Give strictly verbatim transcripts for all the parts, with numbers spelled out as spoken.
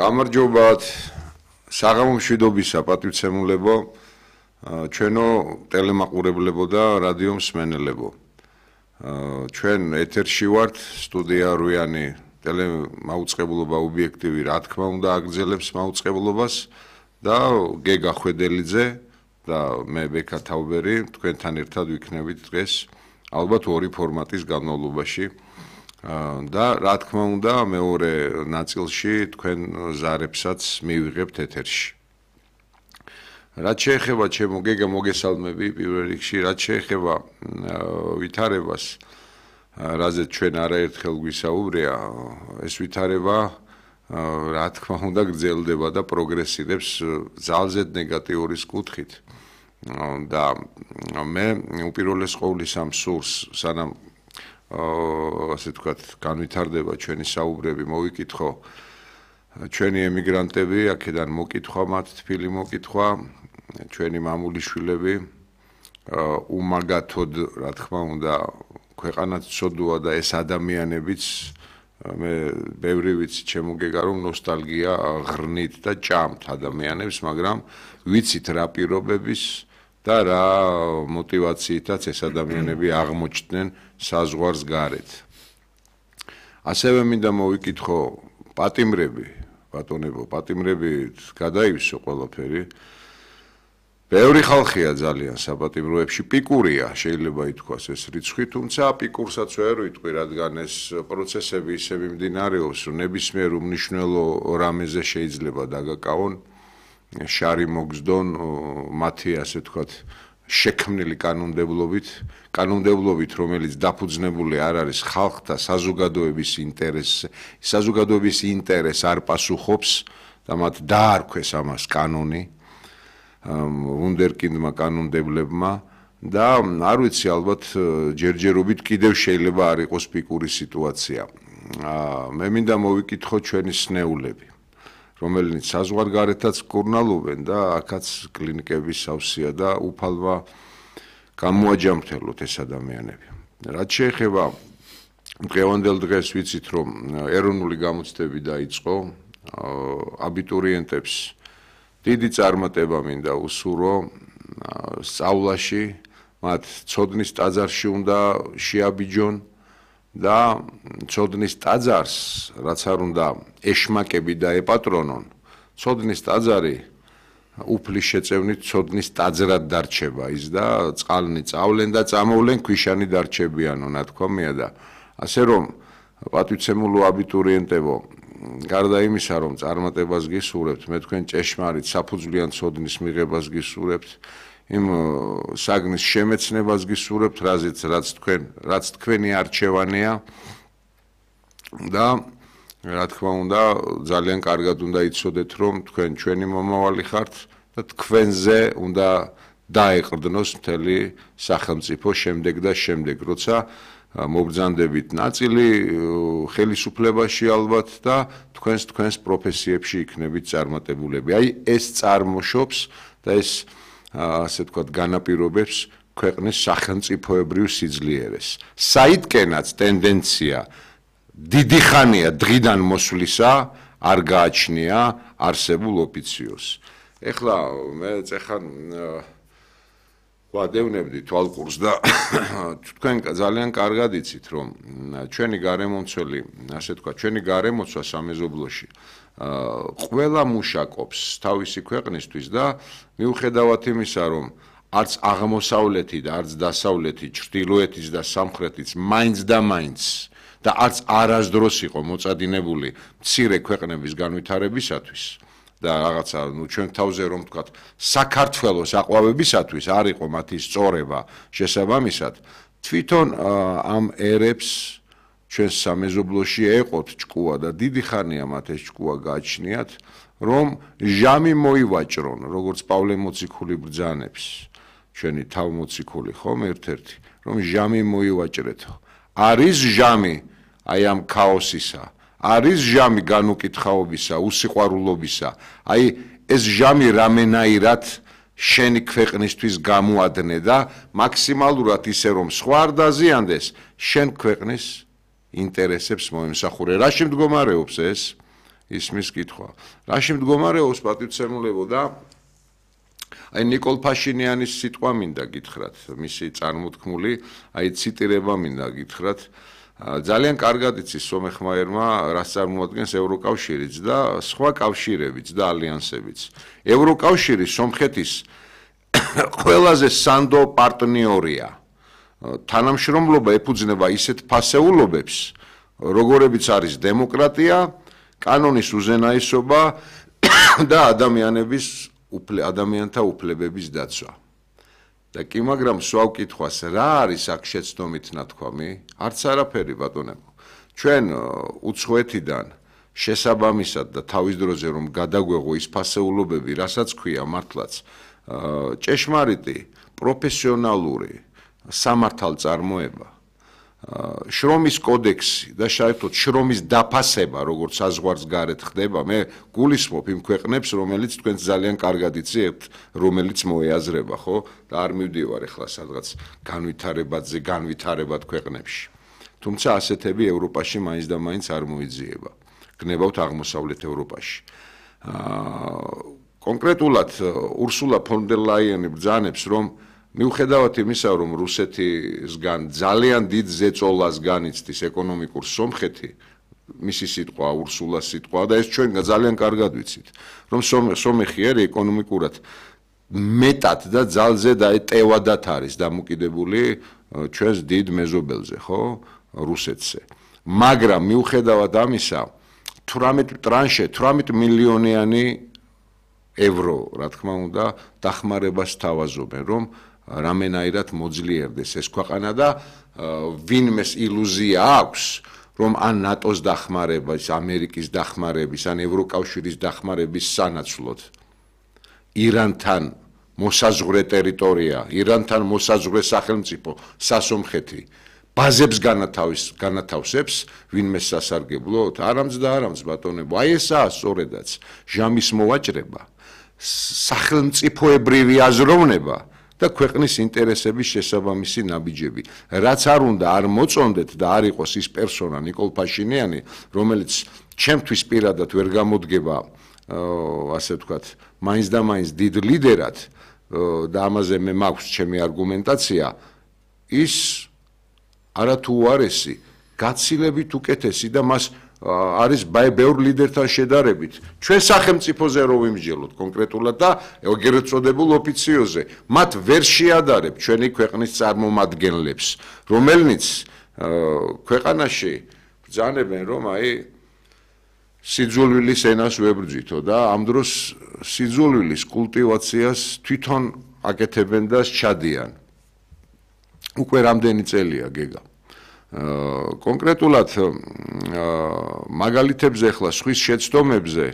გამარჯობათ საღამო მშვიდობისა პატივცემულებო ჩვენო ტელემაყურებლებო და რადიო მსმენელებო ჩვენ ეთერში ვართ სტუდია რუიანი ტელემაუწყებლობა ობიექტივი რა თქმა უნდა აგრძელებს მაუწყებლობას და გეგა ხვედელიძე და მე ბექა თაუბერი თქვენთან ერთად ვიქნებით დღეს ალბათ ორი ფორმატის განმავლობაში და რა თქმა უნდა მეორე ნაწილში თქვენ ზარებსაც მივიღებთ ეთერში. რაც შეეხება ჩემო გეგა მოგესალმები პირველ რიგში, რაც შეეხება ვითარებას, რაზეც ჩვენ არაერთხელ გვისაუბრია, ეს ვითარება რა თქმა უნდა გრძელდება და პროგრესირებს ძალზედ ნეგატიურის კუთხით. და მე უპირველეს ყოვლისა ამ სურს სანამ ასე თქვათ განვითარდება ჩვენი საუბრები მოვიკითხო ჩვენი ემიგრანტები აქედან მოკითხვა მათ თბილი მოკითხვა ჩვენი მამული შვილები უმაგათოდ რა თქმა უნდა ქვეყანაც ცოდუა და ეს ადამიანებიც მე ბევრი ვიცი ჩემო გეგა რომ ნოსტალგია ღრნით და ჭამთ ადამიანებს მაგრამ ვიცით რა პირობების და რა мотивაციითაც ეს ადამიანები აღმოჩნდნენ საზღვარს გარეთ. ასევე მინდა მოვიკითხო პატიმრები, ბატონებო, პატიმრები გადაივსო ყველაფერი. ბევრი ხალხია ძალიან საპატიმროებში, პიკურია, შეიძლება ითქვას ეს რიცხვი, თუმცა პიკურსაც ვერ ვიტყვი, რადგან ეს პროცესები ისე მიმდინარეობს, რომ ნებისმიერ უმნიშვნელო რამეზე შეიძლება დაგაკავონ შარი მოგზდონ მათი ასე თქვათ შექმნილი კანონმდებლობით, კანონმდებლობით, რომელიც დაფუძნებული არ არის ხალხთა საზოგადოების ინტერესს, საზოგადოების ინტერესს არ პასუხობს და მათ დაარქვეს ამას კანონი, ვუნდერკინდმა კანონმდებლებმა და არ ვიცი ალბათ ჯერჯერობით კიდევ შეიძლება არ იყოს პიკური სიტუაცია. მე მინდა მოვიკითხო ჩვენი სნეულები. რომელიც საზღვარგარეთაც კურნალობენ და აქაც კლინიკების სავსეა და უფალმა გამოაჯამრთელოთ ეს ადამიანები. რაც შეეხება დღევანდელ დღეს ვიცით რომ ეროვნული გამოცდები დაიწყო აბიტურიენტებს დიდი წარმატება მინდა უსურო სწავლაში მათ ცოდნის ტაძარში უნდა შეაბიჯონ და ცოდნის ტაძარს რაც არ უნდა ეშმაკები და ეპატრონონ ცოდნის ტაძარი უფლის შეწევნით ცოდნის ტაძრად დარჩება ის და წყალნი წავლენ და წამოვლენ ქვიშანი დარჩებიანო ნათქვამია და ასე რომ პატივცემულო აბიტურიენტებო გარდა იმისა რომ წარმატებას გისურვებთ მე თქვენ ჭეშმარიტ საფუძვლიან ცოდნის მიღებას გისურვებთ იმ საგნის შემეცნებას გისურვებთ, რაზეც რაც თქვენ, რაც თქვენი არჩევანია და რა თქმა უნდა, ძალიან კარგად უნდა იცოდეთ, რომ თქვენ ჩვენი მომავალი ხართ და თქვენზე უნდა დაეყრდნოს მთელი სახელმწიფო შემდეგ და შემდეგ, როცა მობრძანდებით ნაწილი ხელისუფლებაში ალბათ და თქვენს თქვენს პროფესიებში იქნებით წარმატებულები. აი ეს წარმოშობს და ეს ასე თქვათ განაპირობებს ქვეყნის სახელმწიფოებრივ სიძლიერეს. საიდკენაც ტენდენცია დიდი ხანია დღიდან მოსვლისა არ გააჩნია არსებულ ოფიციოს. ეხლა მე წეხან ვადევნებდი თვალყურს და თქვენ ძალიან კარგად იცით რომ ჩვენი გარემომცველი, ასე თქვათ, ჩვენი გარემოცვა სამეზობლოში ყველა მუშაკობს თავისი ქვეყნისთვის და მიუხედავად იმისა რომ არც აღმოსავლეთი და არც დასავლეთი, ჩრდილოეთის და სამხრეთის მაინც და მაინც და არც არასდროს იყო მოწადინებული მცირე ქვეყნების განვითარებისათვის და რაღაცა ნუ ჩვენ თავზე რომ ვთქვათ საქართველოს აყვავებისათვის არ იყო მათი სწორება შესაბამისად თვითონ ამ ერებს ჩვენს სამეზობლოში ეყოთ ჭკუა და დიდი ხანია მათ ეს ჭკუა გააჩნიათ რომ ჟამი მოივაჭრონ როგორც პავლე მოციქული ბრძანებს ჩვენი თავმოციქული ხომ ერთ-ერთი რომ ჟამი მოივაჭრეთო არის ჟამი აი ამ ქაოსისა არის ჟამი განუკითხაობისა უსიყვარულობისა აი ეს ჟამი რამენაირად შენი ქვეყნისთვის გამოადნე და მაქსიმალურად ისე რომ სხვა არ დაზიანდეს შენ ქვეყნის ინტერესებს მოემსახურე. რა შემდგომარეობს ეს? ისმის კითხვა. რაში მდგომარეობს პატივცემულებო და აი ნიკოლ ფაშინიანის სიტყვა მინდა გითხრათ, მისი წარმოთქმული, აი ციტირება მინდა გითხრათ. ძალიან კარგად იცის სომეხმაერმა, რას წარმოადგენს ევროკავშირიც და სხვა კავშირებიც და ალიანსებიც. ევროკავშირი სომხეთის ყველაზე სანდო პარტნიორია. თანამშრომლობა ეფუძნება ისეთ ფასეულობებს, როგორებიც არის დემოკრატია, კანონის უზენაესობა და ადამიანების ადამიანთა უფლებების დაცვა. და კი მაგრამ სვავ კითხვას რა არის აქ შეცდომით ნათქვამი? არც არაფერი ბატონებო. ჩვენ უცხოეთიდან შესაბამისად და თავის დროზე რომ გადაგვეღო ის ფასეულობები, რასაც ქვია მართლაც ჭეშმარიტი, პროფესიონალური სამართალწარმოება, შრომის კოდექსი და საერთოდ შრომის დაფასება, როგორც საზღვარს გარეთ ხდება, მე გულისხმობ იმ ქვეყნებს, რომელიც თქვენ ძალიან კარგად იცით, რომელიც მოეაზრება, ხო? და არ მივდივარ ახლა სადღაც განვითარებადზე, განვითარებად ქვეყნებში. თუმცა ასეთები ევროპაში მაინც და მაინც არ მოიძიება. გნებავთ აღმოსავლეთ ევროპაში. კონკრეტულად ურსულა ფონ დერ ლაიენი ბრძანებს, რომ მიუხედავად იმისა, რომ რუსეთისგან ძალიან დიდ ზეწოლას განიცდის ეკონომიკურ სომხეთი, მისი სიტყვა ურსულას სიტყვა და ეს ჩვენ ძალიან კარგად ვიცით, რომ სომეხი არის ეკონომიკურად მეტად და ძალზე და ეტევადად არის დამოკიდებული ჩვენს დიდ მეზობელზე, ხო, რუსეთზე. მაგრამ მიუხედავად ამისა, თვრამეტ ტრანშე, თვრამეტ მილიონიანი ევრო, რა თქმა უნდა, დახმარებას თავაზობენ, რომ რამენაირად მოძლიერდეს ეს ქვეყანა და ვინმეს ილუზია აქვს, რომ ან ნატოს დახმარების, ამერიკის დახმარების, ან ევროკავშირის დახმარების სანაცვლოდ ირანთან მოსაზღვრე ტერიტორია, ირანთან მოსაზღვრე სახელმწიფო სასომხეთი ბაზებს განათავსებს ვინმეს სასარგებლოდ, არამც და არამც ბატონებო, აი ესაა სწორედაც ჟამის მოვაჭრება, სახელმწიფოებრივი აზროვნება და ქვეყნის ინტერესების შესაბამისი ნაბიჯები. რაც არ უნდა არ მოწონდეთ და არ იყოს ის პერსონა ნიკოლ ფაშინიანი, რომელიც ჩემთვის პირადად ვერ გამოდგება, ასე ვთქვათ, მაინც და მაინც დიდ ლიდერად და ამაზე მე მაქვს ჩემი არგუმენტაცია, ის არათუ უარესი, გაცილებით უკეთესი და მას არის ბევრ ლიდერთან შედარებით. ჩვენ სახელმწიფოზე რო ვიმსჯელოთ კონკრეტულად და ეგრეთ წოდებულ ოფიციოზე, მათ ვერ შეადარებ ჩვენი ქვეყნის წარმომადგენლებს, რომელნიც ქვეყანაში ბრძანებენ, რომ აი სიძულვილის ენას ვებრძვითო და ამ დროს სიძულვილის კულტივაციას თვითონ აკეთებენ და სჩადიან. უკვე რამდენი წელია გეგა. კონკრეტულად მაგალითებზე ახლა სხვის შეცდომებზე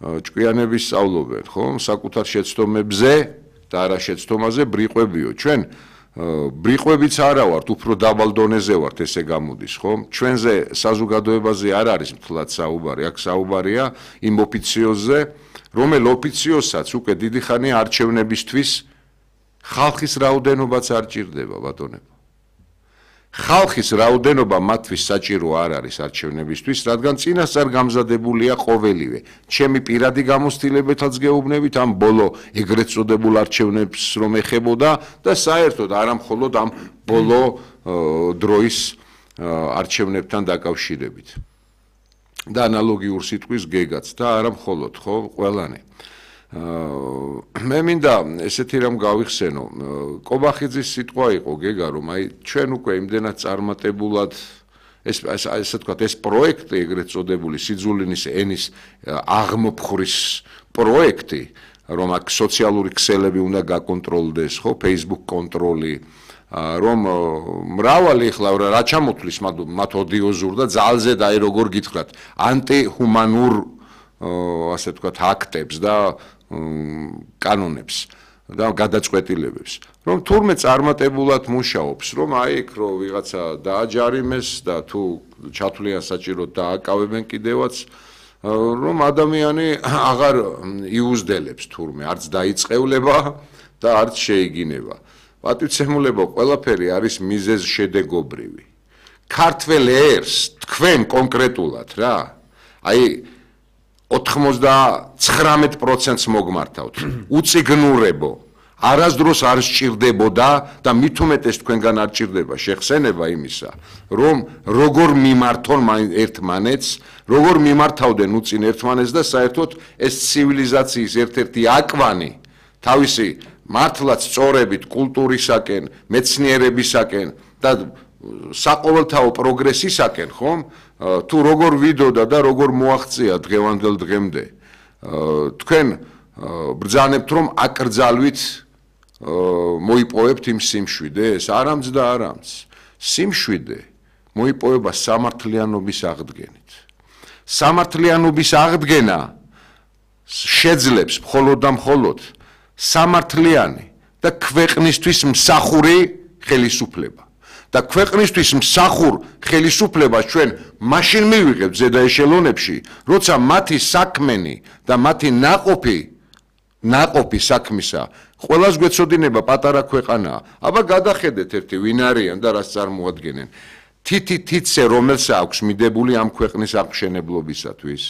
ჭკვიანები სწავლობენ, ხო? საკუთარ შეცდომებზე და არა შეცდომაზე ბრიყვებიო. ჩვენ ბრიყვებიც არა ვართ, უფრო დაბალ დონეზე ვართ, ესე გამოდის, ხო? ჩვენზე საზოგადოებაზე არ არის მთლად საუბარი, აქ საუბარია იმ ოფიციოზზე, რომელ ოფიციოზსაც უკვე დიდი ხანია არჩევნებისთვის ხალხის რაოდენობაც არ ჭირდება, ბატონებო. ხალხის რაოდენობა მათთვის საჭირო არ არის არჩევნებისთვის, რადგან წინასწარ გამზადებულია ყოველივე. ჩემი პირადი გამოცდილებითაც გეუბნებით ამ ბოლო ეგრეთ წოდებულ არჩევნებს რომ ეხებოდა და საერთოდ არა მხოლოდ ამ ბოლო დროის არჩევნებთან დაკავშირებით. და ანალოგიურ სიტყვის გეგაც და არა მხოლოდ, ხო, ყველანი. მე მინდა ესეთი რამ გავიხსენო, კობახიძის სიტყვა იყო გეგა, რომ აი ჩვენ უკვე იმდენად წარმატებულად ეს ასე ვთქვათ, ეს პროექტი ეგრეთ წოდებული სიძულინის ენის აღმოფხვრის პროექტი, რომ აქ სოციალური ქსელები უნდა გაკონტროლდეს, ხო, Facebook კონტროლი, რომ მრავალი ახლა რა ჩამოთვლის მათ ოდიოზურ და ძალზე და აი როგორ გითხრათ, ანტიჰუმანურ ასე ვთქვათ, აქტებს და კანონებს და გადაწყვეტილებებს, რომ თურმე წარმატებულად მუშაობს, რომ აი იქ რო ვიღაცა დააჯარიმეს და თუ ჩათვლიან საჭიროდ დააკავებენ კიდევაც, რომ ადამიანი აღარ იუზდელებს თურმე, არც დაიწყევლება და არც შეიგინება. პატივცემულებო, ყველაფერი არის მიზეზ შედეგობრივი. ქართველ ერს თქვენ კონკრეტულად რა, აი ოცდაცხრამეტ პროცენტს მოგმართავთ. უწიგნურებო არასდროს არ სჭირდებოდა და მით უმეტეს თქვენგან არ სჭირდება შეხსენება იმისა, რომ როგორ მიმართონ ერთმანეთს, როგორ მიმართავდნენ უწინ ერთმანეთს და საერთოდ ეს ცივილიზაციის ერთ-ერთი აკვანი თავისი მართლაც სწორებით კულტურისაკენ, მეცნიერებისაკენ და საყოველთაო პროგრესისაკენ, ხომ? თუ როგორ ვიდოდა და როგორ მოაღწია დღევანდელ დღემდე. თქვენ ბრძანებთ რომ აკრძალვით მოიპოვებთ იმ სიმშვიდეს, არამც და არამც. სიმშვიდე მოიპოვება სამართლიანობის აღდგენით. სამართლიანობის აღდგენა შეძლებს მხოლოდ და მხოლოდ სამართლიანი და ქვეყნისთვის მსახური ხელისუფლება. და ქვეყნისთვის მსახურ ხელისუფლებას ჩვენ მაშინ მივიღებთ ზედა ეშელონებში, როცა მათი საქმენი და მათი ნაყოფი ნაყოფი საქმისა ყველას გვეცოდინება პატარა ქვეყანაა. აბა გადახედეთ ერთი ვინ არიან და რას წარმოადგენენ. თითი თითზე რომელსა აქვს მიდებული ამ ქვეყნის აღმშენებლობისათვის.